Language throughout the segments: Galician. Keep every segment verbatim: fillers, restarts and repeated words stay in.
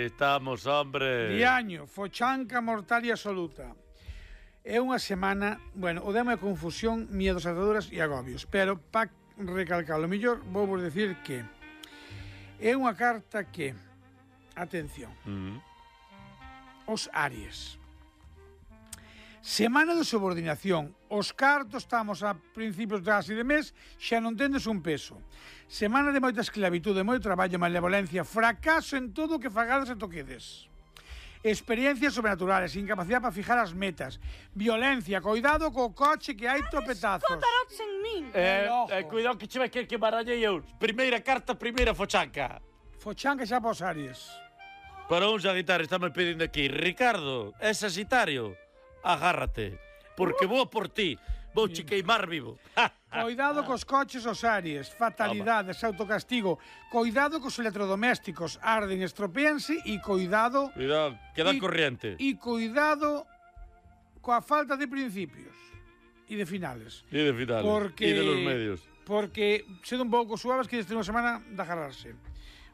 Aí estamos, hombre. Diaño, fochanca mortal e absoluta. É unha semana, bueno, o demo é confusión, miedos, ataduras e agobios, pero para recalcar o mellor, vou vos decir que é unha carta que, atención, Mm. os Aries. Semana de subordinación. Os cartos estamos a principios de casi de mes, xa non tendes un peso. Semana de moita esclavitude, moito traballo, malevolencia, fracaso en todo o que fagades e toquedes. Experiencias sobrenaturales, incapacidade para fijar as metas, violencia, cuidado co coche que hai topetazos. Cotarots en min. Eh, Ojo. eh, cuidado que che vai querer que barallei eu. Primeira carta, primeira fochanca. Fochanca xa para os Aries. Para un Sagitario estame pedindo aquí. Ricardo, é Sagitario, agárrate. Porque vou por ti. Vou che queimar vivo. Cuidado cos coches os Aries, fatalidades, autocastigo. Cuidado cos electrodomésticos, arden, estropéanse e cuidado... Cuidado, queda y- corriente. E cuidado coa falta de principios e de finales. E de finales. Porque... E de los medios. Porque, sendo un pouco suaves, que desde unha semana de agarrarse.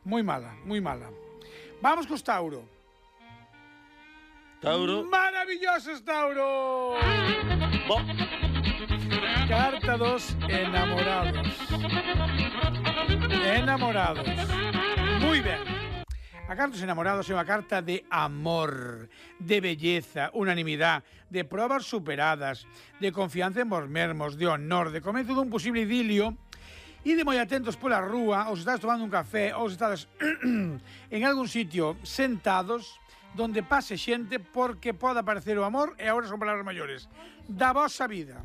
Moi mala, moi mala. Vamos cos Tauro. Tauro. Maravillosos, Tauro! Bo. Carta dos enamorados. Enamorados. Moi ben. A carta dos enamorados é unha carta de amor, de belleza, unanimidade, de probas superadas, de confianza en vos mesmos, de honor, de comezo dun posible idilio e de moi atentos pola rúa, ou se estás tomando un café, ou se estás en algún sitio sentados, donde pase xente porque pode aparecer o amor e agora son palabras maiores da vosa vida.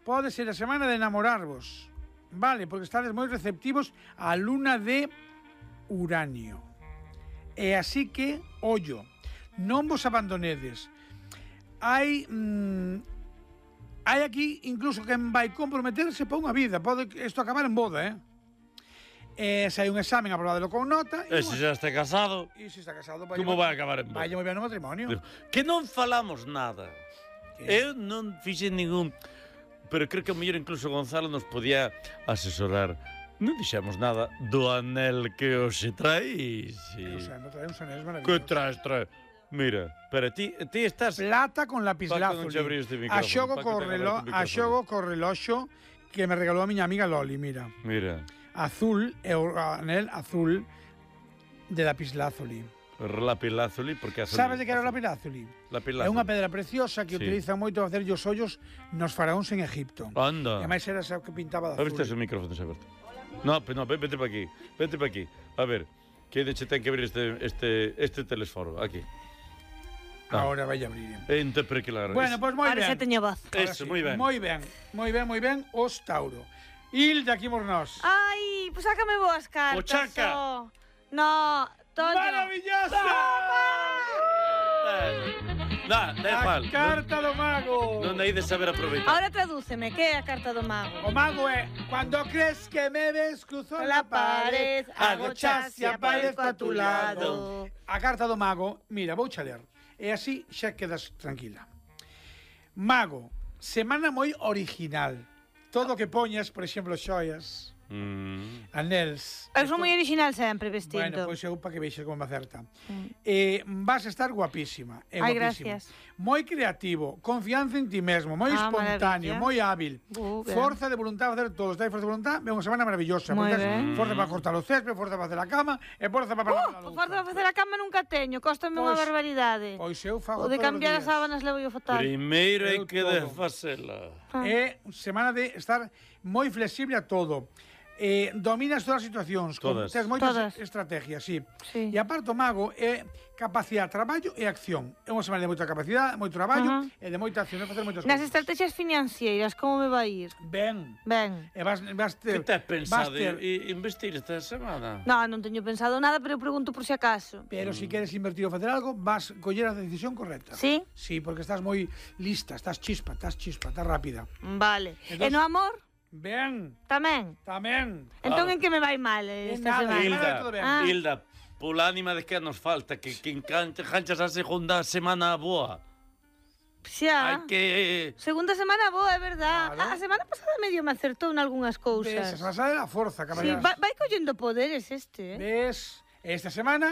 Pode ser a semana de enamorarvos, vale, porque estades moi receptivos á luna de Uranio. E así que, ollo, non vos abandonedes. Hai mm, hai aquí incluso quen vai comprometerse para unha vida, pode isto acabar en boda, eh? E se hai un examen, aprobadelo con nota. E se xa está casado, E se está casado, vai como vai acabar en boda? Vai moi ben no matrimonio. Que non falamos nada. Que? Eu non fixen ningún... Pero creo que a mellor incluso Gonzalo nos podía asesorar. Non dixemos nada do anel que hoxe traís. O sea, non trae uns anéis Que maravillosos. traes, traes? Mira, pero ti, ti estás... Plata con Paco, non che abrí este lapislázuli. micrófono. A xogo Paco, co ten relo, aberto o a micrófono. xogo co reloxo que me regalou a miña amiga Loli, mira. Mira, Azul é o anel azul de lapislázuli. lapilázuli, porque... azul- Sabes de que era o lapislázuli? Lapilázuli. É unha pedra preciosa que Sí. utilizan moito para facer os ollos nos faraóns en Egipto. Anda. E máis era esa que pintaba de A ver azul. se o micrófono se aberto. No, pero no, vete para aquí. Vete para aquí. A ver, que de che ten que abrir este este este telesforo aquí. Ah. Ahora vai a abrir. Ente pre que la Bueno, pois pues moi Ahora ben. xa teño voz. Ahora Eso, sí, moi ben. Moi ben, moi ben, moi ben, os Tauro. Hilda, aquí mos nós. Ai, pois sácame boas cartas. Pochaca. Oh. No, Toño. Maravillosa! Da, da A igual. carta do mago. Non hai de saber aproveitar. Ahora tradúceme, que é a carta do mago? O mago é Cuando crees que me ves cruzo La la pared, pared, hago chas y aparezco a tu lado. lado. A carta do mago, mira, vou xa ler. E así xa quedas tranquila. Mago, semana moi original. Todo o que poñas, por exemplo, xoias, Mm. anéis. Eu son moi original sempre vestindo. Bueno, pois eu para que veixas como me acerta. Eh, vas a estar guapísima. Eh, Ai, guapísima. gracias. Moi creativo, confianza en ti mesmo, moi Ah, espontáneo, maravilla. moi hábil. Uh, ben. Forza de voluntad para facer todo. Estáis forza de voluntad, é unha semana maravillosa. Moi porque tes ben. Forza para cortar o césped, forza para facer a cama e forza para parar a Uh, louça. forza de facer a cama nunca teño, cóstame unha Pois- barbaridade. Pois eu fago O de todos os cambiar días. as sábanas levo yo fatal. Primeiro hai Eu que todo. desfacela. É semana de estar moi flexible a todo. Eh, dominas todas as situacións, con- Todas. tes moitas Todas. estrategias, sí. Sí. E aparte o mago é capacidade, traballo e acción. É unha semana de moita capacidade, moito traballo Ajá. e de moita acción, de facer moitas Nas cousas. estrategias financeiras, como me vai ir? Ben. Ben. E vas, vas Que ter... te has pensado vas ter- i- investir esta semana? No, non teño pensado nada, pero eu pregunto por si acaso. Pero se si queres invertir ou facer algo, vas coller a decisión correcta. Sí? Sí, porque estás moi lista, estás chispa, estás chispa, estás rápida. Vale. Entonces- E no amor? Ben, Tamén? tamén. Entón Ah. en que me vai mal eh, En esta nada, semana? Hilda. Hilda, todo ben. Ah. Hilda, pola ánima de que nos falta, que, que encancha, ganchas a segunda semana boa. Xa. Hai que... Segunda semana boa, é verdad. Claro. A semana pasada medio me acertou en algunhas Ves, cousas. vas a ver a forza, Sí, caballeras. vai, vai collendo poderes este, eh? Ves, esta semana